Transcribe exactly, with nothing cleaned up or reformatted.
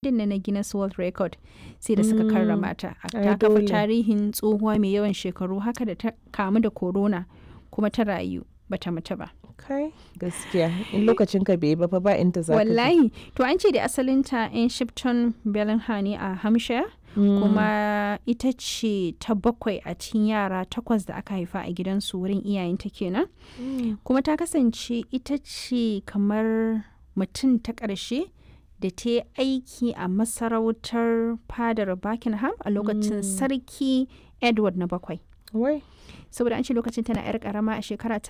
Din na Guinness World Record sai da suka karrama ta. Ai Ta kafa dole. tarihin tsohuwa mai yawan shekaru haka da ta kamu da corona kuma ta rayu bata mutu ba. Kai gaskiya in lokacin ka bai yi ba fa ba inda za ka je. Wallahi, to an ce da asalinta in Shipton Bellingham ne a Hampshire. Mm. Kuma ita ce ta bakwai a cikin yara takwas da aka haifa a gidansu wurin iyayenta kenan. Mm. Kuma ta kasance ita ce kamar mutum ta ƙarshe da ta yi aiki a masarautar fadar Buckingham a lokacin Sarki Edward na bakwai. Wai. Saboda an ce lokacin tana 'yar karama a shekara ta